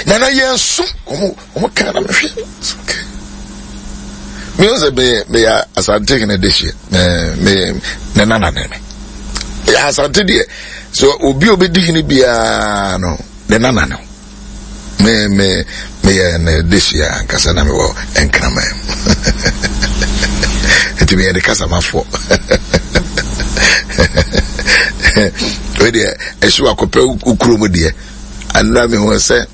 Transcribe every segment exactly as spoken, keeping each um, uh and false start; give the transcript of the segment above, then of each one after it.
Nana yɛn so ɔmo ɔmo kan na mehwɛ. It's okay. Me sɛ meyɛ meyɛ Asante hene de hyɛ mɛ me ne nana ne me. Yɛ Asante deɛ so obi a obedi hene biara no ne nana no. Me me meyɛ ne de hyɛ ankasa na mewɔ Nkraman mu. Nti meyɛ ne kasamafoɔ. Wei deɛ ɛhyew akɔpɛ wo kurom deɛ. Anura me hu sɛ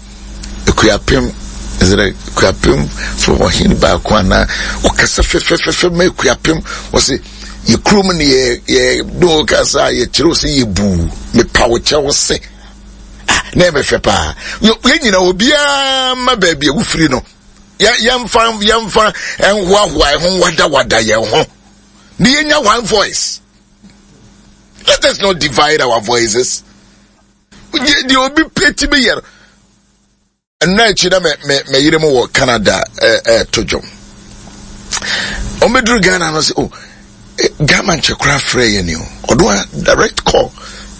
Ekuapem ɛsɛ Ekuapem fo ɔhene baako anaa ɔkasa fɛfɛfɛfɛ ma Ekuapem ɔsɛ yɛ kurom ne yɛ yɛ do kasa yɛ kyerɛw sɛ yɛ buu mepa wo kyɛw se ah na ɛmɛ fɛ paa yɛ nyina obiara ma baabi a wofiri no yɛ yɛmfa yɛmfa ɛnhoahoa ɛho wadawada yɛn ho ne yɛnya one voice. Let us not divide our voices. Deɛ obi pɛ ti bi yɛ no. Nna akyi na me me me yere mu wɔ Canada ɛɛto dwom. Wɔn bɛduru Ghana no sɛ oh Ghana nkyɛ koraa frɛ yɛ ni o. Ɔdo a direct call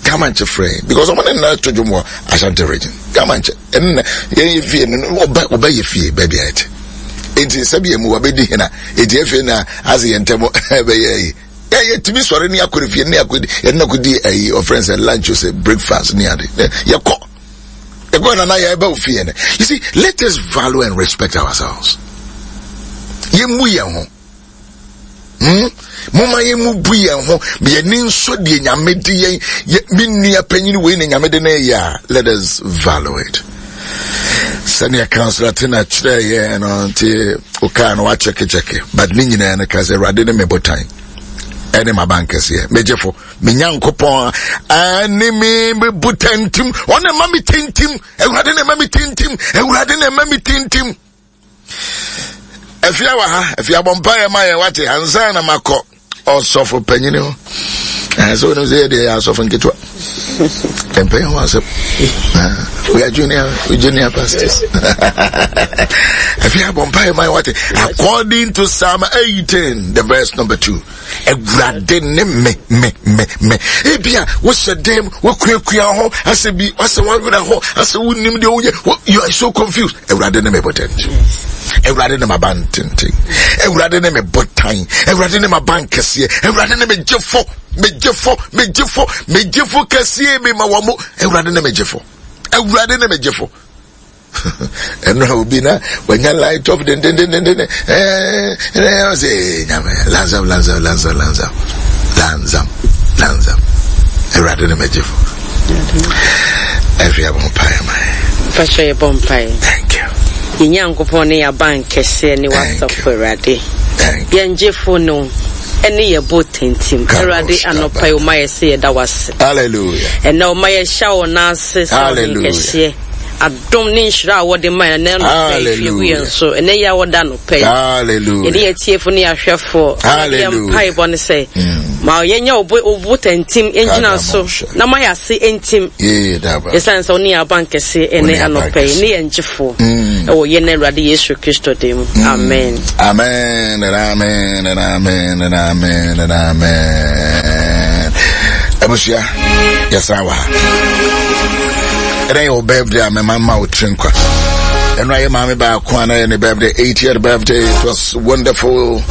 Ghana nkyɛ frɛ yɛ because wɔn ne nna to dwom wɔ Ashanti region. Ghana nkyɛ ɛnna yɛn yɛ fie no ɔbɛ ɔbɛ yɛ fie baabi a yɛte. Eti sɛbi emu wabɛdi hena eti efe na ase yɛn ntɛm ɛbɛyɛ yi. Yɛ yɛtumi sɔre ne akɔre fie ne akɔdi yɛne akɔdi ayi ɔfrɛ sɛ lunch o sɛ breakfast ne ade yɛkɔ yɛkɔ nana yɛba wo fie no. You see, let us value and respect ourselves. Yɛmmu yɛn ho. Hmm? Moma yɛmmu bu yɛn ho. Yɛni nso deɛ Nyame de yɛn yɛ me nua panyin wei na Nyame de no yɛ a, let us value it. Sɛnea Councillor Tina kyerɛ yɛn no nti wokaa no wakyɛkekyɛke, but ne nyinaa no ka sɛ Awurade ne me botan ɛne m'abankɛseɛ, megyefo, me Nyankopɔn ɛne me me botantim, ɔne ma me tintim, Awurade ne ma me tintim, Awurade ne ma me tintim. Afia wɔ ha, afia bɔ mpaeɛ ma yɛn wate ansa na makɔ ɔsɔfo panyini hɔ. Ɛɛ sɛ wɔnim sɛ yɛ deɛ yɛ asɔfo nketewa. Mpɛn ho asɛm. We are junior, we junior pastors. Afia bɔ mpaeɛ ma yɛn wate. According to Psalm eighteen, the verse number two. Awurade ne me me me me. Ebia wohyɛ dɛm, wokuakua ho, asɛ bi, asɛ wawerɛ ho, asɛ wonim deɛ woyɛ, you are so confused. Awurade ne me botan. Awurade ne m'aban tenten. Awurade ne me botan. Awurade ne m'aban kɛseɛ. Awurade ne me gyefo, me gyefo, me gyefo, me gyefo kɛseɛ mi ma wɔn mo. Awurade ne me gyefo. Awurade ne me gyefo. Ɛno a obi na wanya light off dendendendenden ɛɛ ɛɛ ɔsɛ nyame lanzam lanzam lanzam lanzam lanzam lanzam. Awurade ne me gyefo. Ɛfi abɔ mpaeɛ ma yɛ. Mpakyɛ yɛbɔ mpaeɛ. Thank you. Yɛn Nyankopɔn ne yɛaban kɛseɛ ne wasafo Awurade. Yɛn gyefo no ɛne yɛ bo tintim. Awurade anɔpa yi ɔma yɛ sɛ yɛda wase. Hallelujah. Ɛnɛ ɔma yɛhyɛ wo n'ase sɛ ɔne kɛseɛ. Adom ne nhyira a wɔde ma yɛn ɛnɛ anɔpa yi hwie gu yɛn so. Ɛnɛ yi a wɔda anɔpa yi. Hallelujah. Yɛne yɛn tiefo ne yɛahwɛfoɔ. Hallelujah. Yɛn mpaebɔ ne sɛ ma yɛnyɛ wo bo tintim yɛngyina so na ma yɛase ntim. Yɛsiane sɛ wo ne yɛn aban kɛseɛ ɛnɛ anɔpa yi ne yɛn gyefoɔ ɛwɔ yɛn Awurade Yesu Kristo din mu. Amen. Amen and amen and amen and amen and amen. Abusua, yɛsan wɔ ha. Ɛnɛ yɛ wo birthday a mɛma ma wo tiri nkwa. Ɛno ayɛ maame baako a na yɛ ne birthday, eightieth birthday. It was wonderful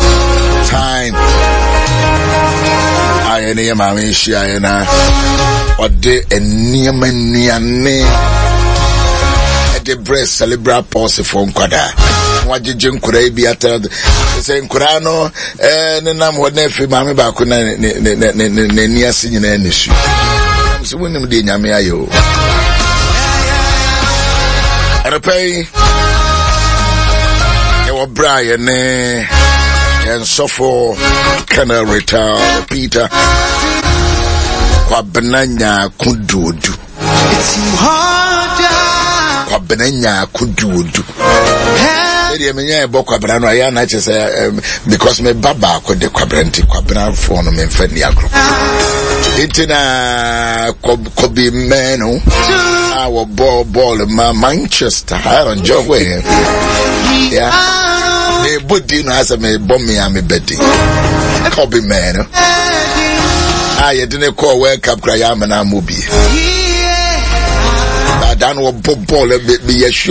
time. A yɛne yɛ maame hyiaeɛ na ɔde nneɛma nnuane ɛde brɛ cerebral palsy foɔ nkwadaa. Wagyegye nkwadaa yi bi atara sɛ nkwadaa no ɛɛ nenam hɔ na afei maame baako na ne ne ne ne ne n'ani ase nyinaa ne su. Sɛ wonim deɛ Nyame ayɛ o. Anɔpa yi yɛwɔ berɛ a yɛne yɛn sɔfo Colonel Retired Peter Kwabena Nyaako Duodu. Kwabena Nyaako Duodu. Ɛdeɛ menya ɛbɔ Kwabena no ayɛ ana kyɛ sɛ because me ba baako de Kwabena nti Kwabenafoɔ no memfa nni agorɔ. Nti na Kobe Manu a wɔbɔ bɔɔl ma Manchester Aaron Jogwe. Yeah. Mebɔ din no asɛ mebɔ me a mebɛdi. Kobe Manu a yɛde ne kɔɔ World Cup kora yɛ amena ammɔ bi. Ada no wɔbɔ bɔɔl meyɛ sure.